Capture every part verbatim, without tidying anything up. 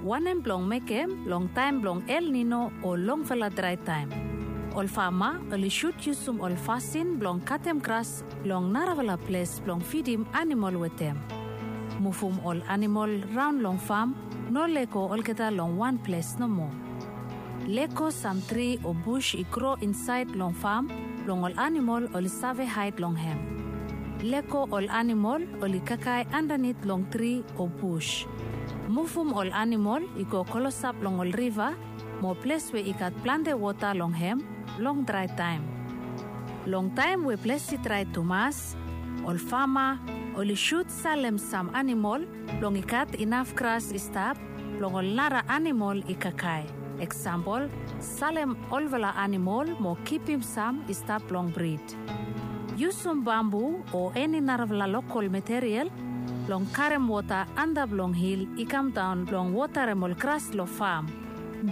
Wanem blong mekem long taem blong El Nino o longfala drae taem? Ol fama oli sud yusum ol fasin blong katem gras long narafala ples blong fidim animol wetem. Muvum ol animol raon long fam, no lego olgeta long wan ples nomo. Lego sam tri o bus i gro insaed long fam blong ol animol oli save haed long hem. Lego ol animol oli kakae andanit long tri o bus. Muvum ol animol i go klosap long ol riva mo ples we i gat plante wota long hem long drae taem. Long taem we ples i drae tumas, ol fama oli sud salem sam animol blong i gat inaf gras i stap blong ol nara animol i kakae. Eksampol, salem olfala animol mo kipim sam i stap blong brid. Yusum bambu o eni narafala lokol material blong karem wota antap long hil i kamdaon blong wotarem ol gras long fam.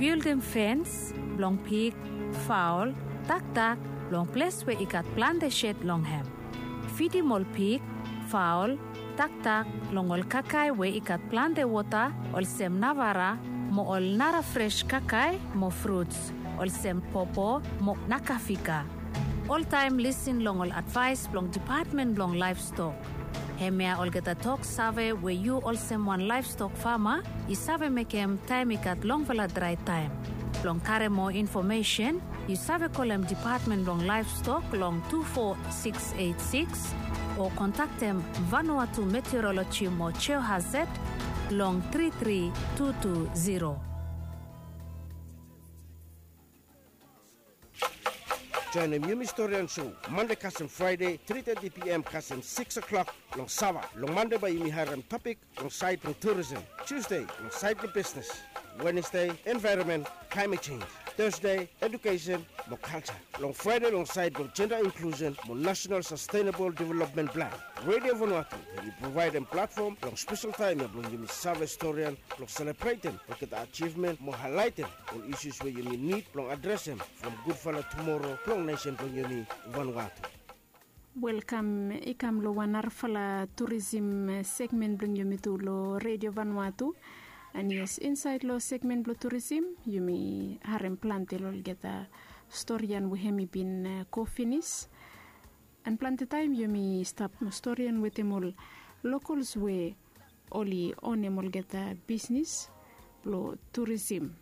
Bildim fens blong pig, faol, dakdak long ples we i gat plante sed long hem. Fidim ol pig, faol, dakdak long ol kakae we i gat plante wota olsem navara mo ol nara fres kakae mo fruts olsem popo mo nakafika. Oltaem lisin long ol advaes blong Depatmen blong Laevstok. Hemia olgeta tok save we yu olsem wan laevstok fama i save mekem taem i gat longfala drae taem. Blong karem moa infomesen, yu save kolem Depatmen blong Laevstok long tu fo sikis eit sikis o kontaktem Vanuatu Meteoroloji mo Geohazard long tri tri tu tu ziro. Joenem Yumi Storian Show Mande kasem Fraede tri teti piam kasem sikis klok long Sava. Long Mande bae yumi harem topik long saed blong turisem, Tusde long saed blong bisnes, Wenesde envaeronmen, klaemet jenj, Tasde edukesen mo kalja, long Fraede long saed blong jenda inklusen mo nasenal sastenabol developmen plan. Redio Vanuatu hemi provaedem platfom long spesel taem ya blong yumi save storian blong selebretem olgeta ajivmen mo haelaetem ol isius we yumi nid blong adresem from gudfala tumoro blong nesen blong yumi Vanuatu. Welkam i kam long wan narafala turisim segmen blong yumi tu long Redio Vanuatu. An yes, insaed long segmen blong turisim yumi harem plante long olgeta storian we hemi bin go finis. An plante taem yumi stap storian wetem ol lokols we oli onem olgeta bisnis blong turisim.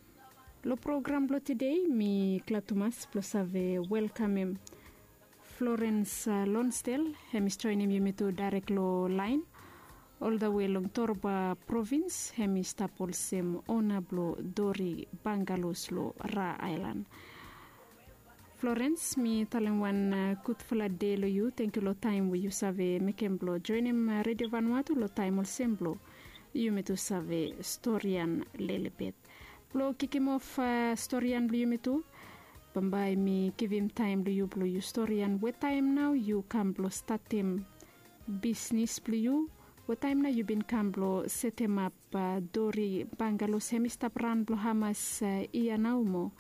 Long program blong tede mi glad tumas blong save welkamem Florens Lonsdel, hemi joenem yumi tu daerek long laen oldawe long Torba provins. Hemi stap olsem ona blong Dori Bangalos long Ra Aelan. Florens, mi talem wan gudfala dei long yu. Tangkiu long taem we yu save mekem blong joenem Redio Vanuatu long taem olsem blong yumi tu save storian lelebet. Blong kikimof storian blong yumi tu, bambae mi givim taem long yu blong yu storian we taem nao yu kam blong statem bisnis blong yu, we taem nao yu bin kam blong setemap Dori Bangalos. Hemi stap raon blong hamas yia nao mo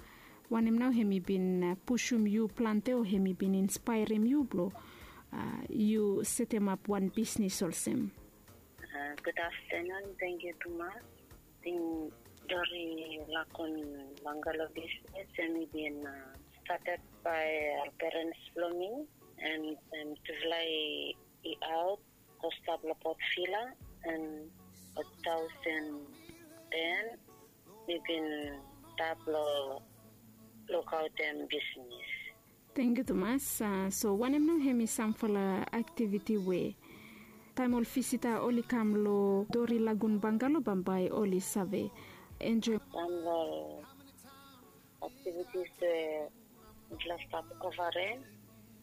wanem nao hemi bin pusum yu plante o hemi bin inspaerem yu blong yu setemap wan bisnis olsem? Gud aftenun, tangkiu tumas. Ting Dori Lagun Bangalo bisnis hemi bin stated bae perens blong mi, an tufala i aot go stap long Port Vila, an tu taosen ten mi bin stap long lukaotem bisnis. Tangkiu tumas. So wanem nao hemi samfala aktiviti we taem ol visita oli kam long Dori Lagun Bangalo bambae oli save enjoem? Sam long aktivitis we mifala stap ofarem,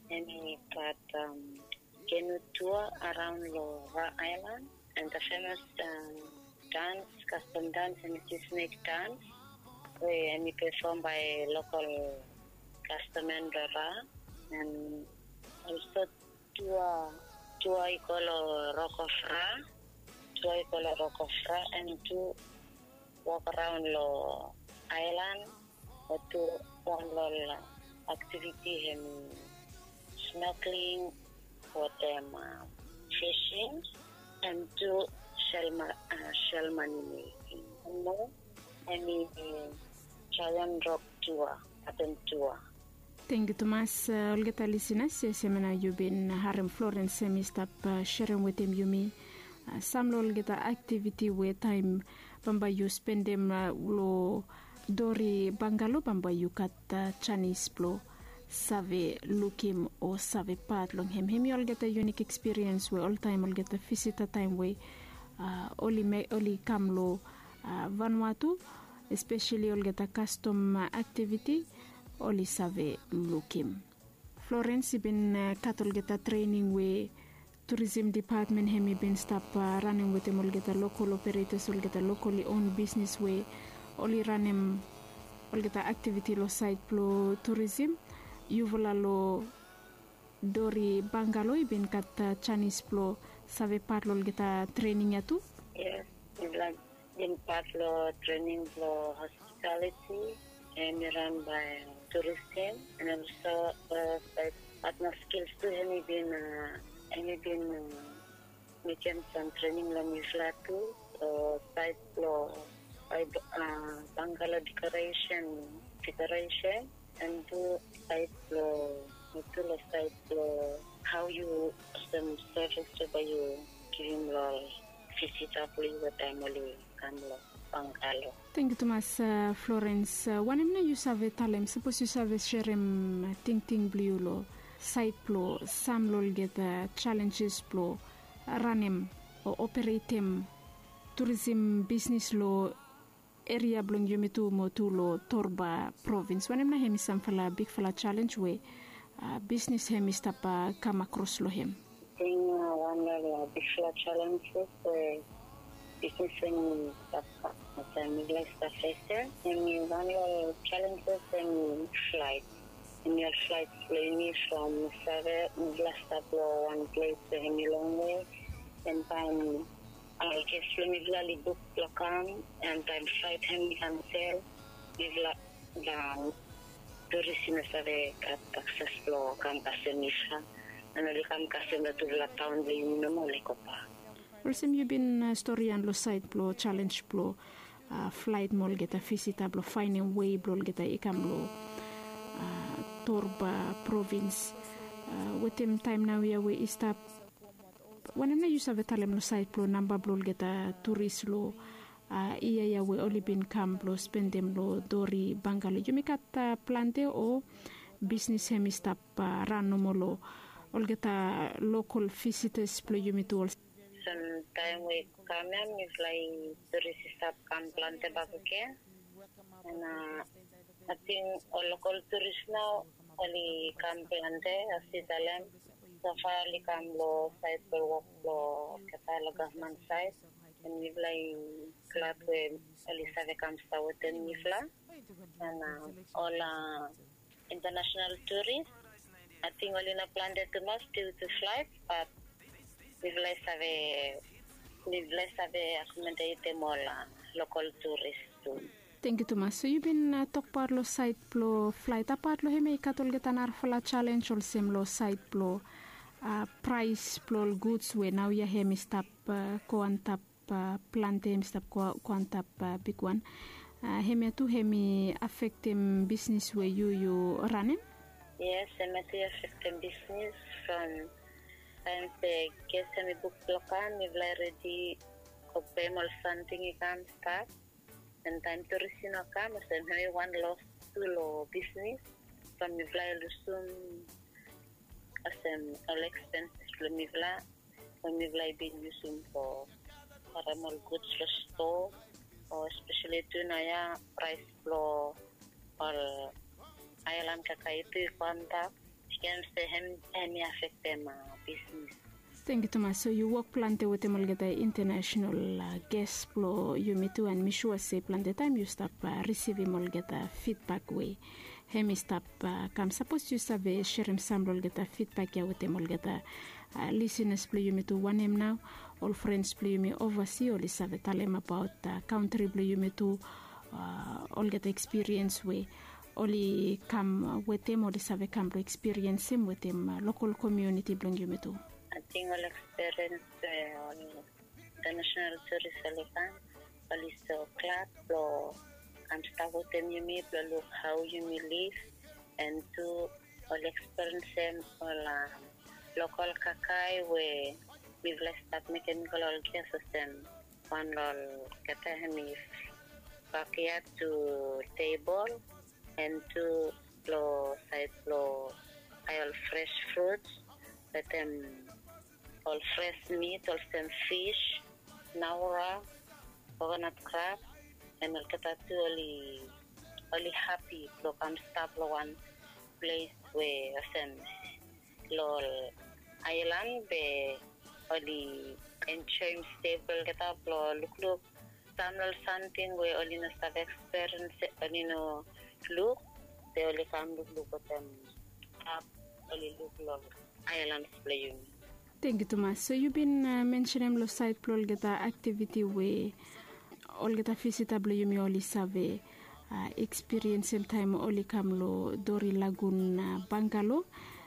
hemi gat kenu tua araon long Ra Aelan, an the famous dans, kastom dans, hemi Sisnake dans we hemi pefom bae lokol kastomen blong Ra. An olso tua, tua i go long Rock of Ra, tua i go long Rock of Ra, an tu wok araon long aelan, o tu wan long ol aktiviti hemi snorkeling wetem fishing, an tu sel mani meking. Wan moa Em i Giant Rock Tour, Apen Tour. Tengyu tumas, olgeta lisinas, yes, em ya nao yu bin harem Florence em i stap serem wetem yumi sam long olgeta aktiviti we taem bambae yu spendem long Dori Bangalo, bambae yu gat janis blong save lukim o save pat long hem. Hem i olgeta yunik ekspiriens we oltaem olgeta visita taem we oli kam long Vanuatu, espeseli olgeta kastom aktiviti oli save lukim. Florence i bin gat olgeta trening we turisim dipatmen hem i bin stap ranem wetem olgeta lokol operetas, olgeta lokoli on bisnis we oli ranem olgeta aktiviti long saed blong turisim. Yufala long Dori Bangalo i bin gat janis blong save pat long olgeta trening ya tu? Yes, mifala bin pat long trening blong hospitaliti, hem i ran bae turisim, and also saed patna skils tu hem i bin, hem i bin mekem sam trening long mifala tu, long saed blong Bangalo dekoresen, dekoresen, and tu saed blong, tu long saed blong hao yu olsem sevis we bae yu givim long ol visita blong yu we taem oli kam long Bangalo. Tengyu tumas, Florence. Wanem nao yu save talem, sapos yu save serem tingting blong yu long saed blong sam long olgeta jalenjes blong ranem o operetem turisim bisnis long eria blong yumi tu mo tu long Torba provins? Wanem nao hem i samfala bigfala jalenj we bisnis hem i stap kam akros long hem? Ating wan long bigfala jalenjes we bisnis hem i stap kam, taem mifala i stap fesem, hem i wan long jalenjes hem i flaet. Hem i ol flaet blong yumi from, save, mifala stap long wan ples we hem i longwe, and taem ol ges blong mifala oli buk blong kam, and taem flaet hem i kansel, mifala, turis i no save gat akses blong kam kasem mifala, and oli kam kasem long tufala taon blong yumi nomo, oli gobak. Olsem yu bin stori ia long saed blong jalenj blong flaet mo olgeta visita blong faenem wei blong olgeta i kam long Torba provins. Wetem taem naoia we i stap, wanem nao yu save talem long saed blong namba blong olgeta turis long yia ia we oli bin kam blong spendem long Dori Bangalo? Yumi gat plante o bisnis hem i stap ran nomo long olgeta lokol visitas blong yumi tu? Olsem taem we i kam ia, mifala i, turis i stap kam plante bakegen. And ating ol lokol turis nao oli kam plante, as yu talem. Sofa oli kam long saed blong wok blong olgeta long gavman saed. And mifala i glad we oli save kam stap wetem mifala. And ol international turis, ating oli no plante tumas due to flight, bat mifala i save, mifala i save akomodetem ol lokol turis tu. Tengyu tumas. So yu bin tokbaot long saed blong flaet, apat long hem ia i gat olgeta narafala jalenj olsem long saed blong praes blong ol guds we naoia hem i stap go antap plante, hem i stap go antap bigwan. Hemia tu hem i afektem bisnis we yu yu ranem? Yes, hemia tu i afektem bisnis from taem se ges hem i buk blong kam, mifala i redi go pem ol samting i kam stap. And taem turis i no kam, olsem hem i wan los tu long bisnis from mifala i lusum olsem ol ekspenses blong mifala we mifala i bin yusum blong karem ol guds long stoa, o espeseli tu naoia praes blong ol aelan kakae tu i go antap. Yu ken se hem i afektem bisnis. Tengyu tumas. So yu wok plante wetem olgeta internasenal ges blong yumi tu, and mi sua se plante taem yu stap risivim olgeta fidbak we hem i stap kam. Sapos yu save serem sam blong olgeta fidbak ia wetem olgeta lisinas blong yumi tu, wanem nao ol frens blong yumi ovasi oli save talem abaot kantri blong yumi tu, olgeta ekspiriens we oli kam wetem, oli save kam blong ekspiriensim wetem lokol komuniti blong yumi tu? Ating ol ekspiriens we ol internasenal turis oli kam, oli so glad blong kam stap wetem yumi blong luk hao yumi liv, and tu oli eksperiensim ol lokol kakae we mifala i stap mekem i go long ol ges olsem wan long olgeta hem i bakiat tu tebol, and tu long saed blong bae ol fres frut wetem ol fres mit olsem fis, naora, kokonat krab, and olgeta tu oli oli hapi blong kam stap long wan ples we olsem long ol aelan be oli enjoem stei blong olgeta blong lukluk sam long ol samting we oli no save eksperiens, oli no luk, be oli kam lukluk wetem ap oli luk long aelans blong yumi. Tengkiu tumas. So yu bin mensenem long saed blong olgeta aktiviti we olgeta visita blong yumi oli save ekspiriensim taem oli kam long Dori Lagun bangalo,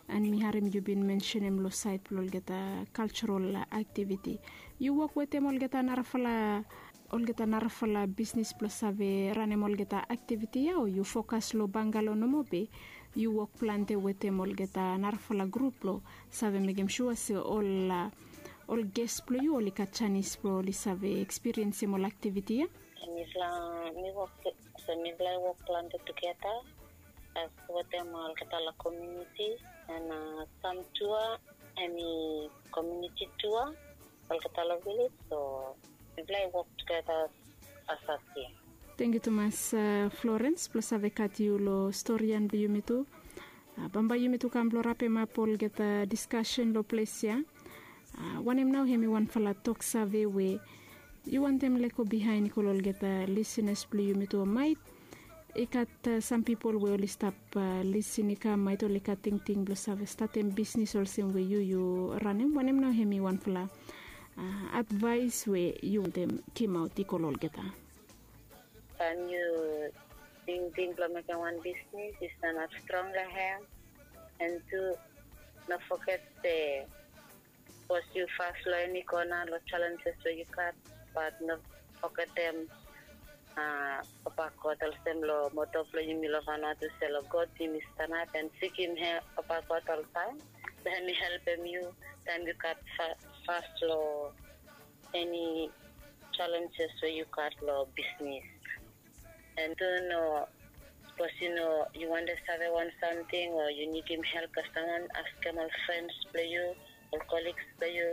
and mi harem yu bin mensenem long saed blong olgeta kalserol aktiviti. Yu wok wetem olgeta narafala olgeta narafala bisnis blong save ranem olgeta aktiviti ya, o yu fokas long bangalo nomo be yu wok plante wetem olgeta narafala grup blong save mekem sua se ol ol ges blong yu oli gat janis blong oli save ekspiriensim ol aktiviti ya? Mifala mi wok, so mifala i wok plante tugeta as wetem olgeta long komuniti, and sam tua hem i komuniti tua, olgeta long vilej, so mifala i wok tugeta as a tim. Tengkiu tumas, Florens, blong save gat yu long storian blong yumi tu. Bambae yumi tu kam blong rapemap olgeta diskasen long ples ya. Wanem nao hem i wanfala tok save we yu wantem lego bihaen i go long olgeta lisinas blong yumi tu, o maet i gat sam pipol we oli stap lisin i kam, maet oli gat tingting blong save statem bisnis olsem we yu yu ranem? Wanem nao hem i wanfala advaes we yu wantem gimaot i go long olgeta? Taem yu tingting blong mekem wan bisnis, yu sanap strong long hem, and tu no foget se sapos yu fas long eni kona long jalenjes we yu gat, bat no fogetem Papa God olsem long moto blong yumi long Vanuatu se long God yumi sanap and sikim hem, Papa God oltaem, so hem i helpem yu taem yu gat fas long eni jalenjes we yu gat long bisnis. And tu no, sapos yu no, yu wantem save wan samting o yu nidim help, kasem wan, askem ol frens blong yu, ol koligs blong yu,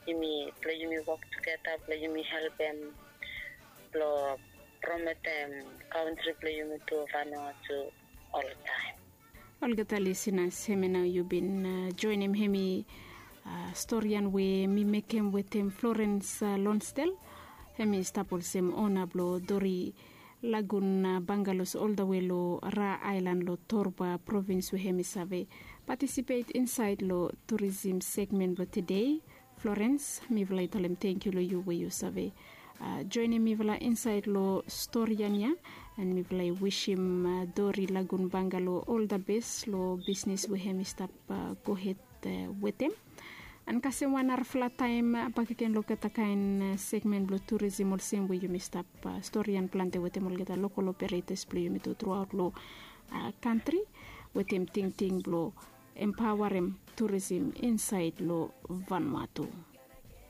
yumi blong yumi wok tugeta blong yumi helpem blong promotem kantri blong yumi tu, Vanuatu, oltaem. Olgeta lisinas, hemia nao yu bin joenem hem i storian we mi mekem wetem Florens Lonsdel. Hem i stap olsem ona blong Dori Lagun Bangalos oldawe long Ra Aelan long Torba provins we hem i save patisipet insaed long turism segmen blong tede. Florens, mifala i talem tangkiu long yu we yu save joenem mifala insaed long storian ya, and mifala i wisim Dori Lagun Bangalo ol da bes long bisnis we hem i stap gohed wetem. And kasem wan narafala taem bakegen long olgeta kaen segmen blong turism olsem we yumi stap storian plante wetem olgeta lokol operetas blong yumi tu truaot long kantri wetem tingting blong empaoarem turism insaed long Vanuatu.